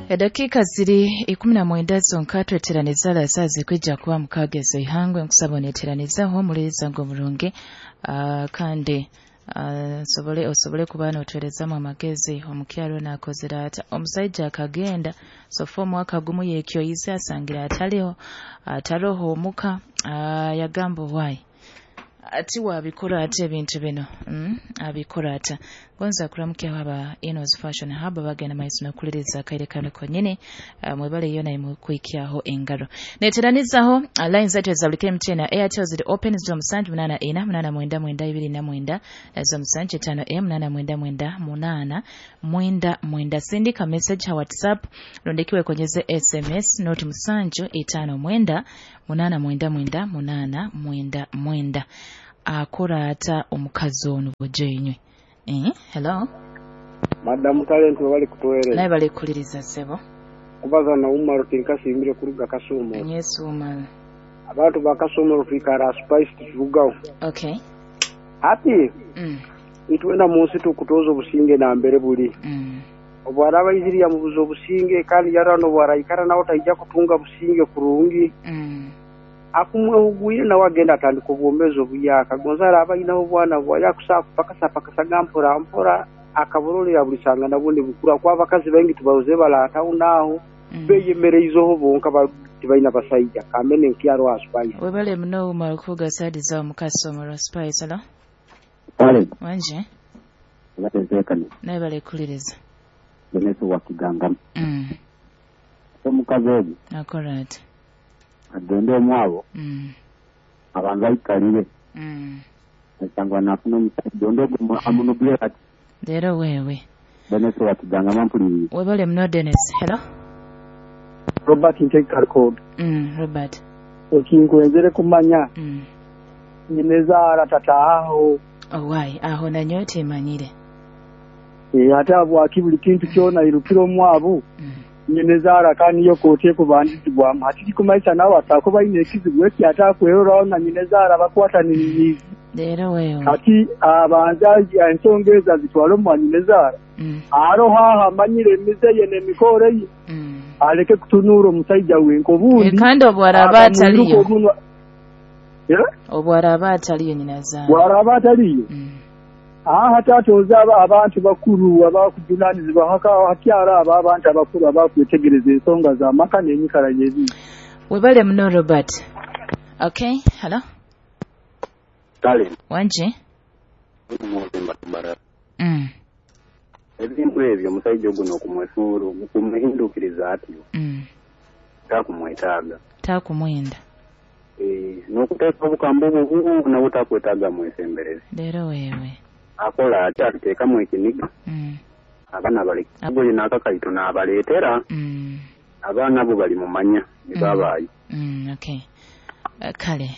Edakika ziri 19 zonka tweteraniza la saa zikwija kuba mukagezo ihangwe. Nkusaba oneteranizaho omuliriza ngo omurungi, kandi osobole kuba notwerezamu amagezi. Omukyaro nakozere ata? Omusaija akagenda sofa omwaka gumu yekyoyize, asangira ataliho, ataroho omuka. Yagamba why ati wabikora ate ebintu bino, abikora ata? Gonza kuramukyaho aba Enos Fashion Hub bagenda maiso nokuliriza akaire kano konyene. Mwebale yona imukwikyaho engaro. Neteranizaho line zaitu za buli MTN na Airtel ziri open 0784 899 29, 075 899 899. Sindika message ha WhatsApp rondekiwe konyeze SMS noti 759 899 899. Akora ata omukazi ono bojenywe? Hello. Madam Talent, bali kutuwereza. Naye bali kuliriza sebo. Kubaza na Umar tinkasimbire kuruga Kasumo. Yes, Umar. Abantu ba Kasumo twikara spice turugaho. Okay. Ati itwenda munsi tukutoza obusinge na mbere buli. Obwaraba iziri ya mubuzo obusinge kandi yarano bwaraikara nawe taija kutunga businge kurungi. Akumwehugwire nawe agenda atandika obwomeezi obuyaka gonzara abainaho obwana bwaya kusapakasa pakasa mpora mpora akaborolera buli sanga nabundi bukura kwa abakazi baingi tubaruze balatawo naho beyemereizoho bonka tibaina basaija kamene nkyaro aspice. Webale muno Umar kuga sadi za mukasomero spice. Hello. Pale. Wanje. Batezekane. Naye bale kuliriza. Beneso wa Kiganga. Omukazi ogu. Akora ati. Agende omwabo. Abanza aikalire. Esangwa nafuna omusajja ondogo amunugire ati. Leero wewe. Beneso wa Kiganga mampuliriza. Webale muno Dennis. Hello. Robert Ntekarko. Robert. Ekinkwenzere kumanya. Nyinezaara tataaho. Owai aho nanyowe temanyire. Ate abwaki buli kintu kyona irukira omwabo. Nyinezaara kandi yo kote kubandizibwamu ati kumaisa nawe atakuba ine ekizibu eki ate akweroraho na nyinezaara bakwataniriza. Leero wewe. Ati abanza ensonga ezo azitwale omwa nyinezaara. Aroho aho amanyire emize ye n'emikoro ye. Aleke kutunura omusaija wenka obundi. Kandi obwaraba ataliyo. Obwaraba ataliyo nyinazaara. Bwaraba ataliyo. Aha tatoza abantu bakuru abakujunanizibwa hakyara aba abantu abakuru abakwetegereza ensonga za maka n'enyikara yebi. Webale muno Robert. Okay, hello. Kale. Wanje. Ebintu ebyo omusajja oguno okumwesuura okumuhindukiriza atyo. Takumwetaaga. Takumwenda. N'okuteeka obukambo obwo nabwo takwetaaga mwesemberezi. Leero wewe. Akola ati atuteekamu ekiniga. Abaana bali agoye n'akakaito n'abaleetera. Abaana bo bali mumanya ne babaayo. Okay. Kale.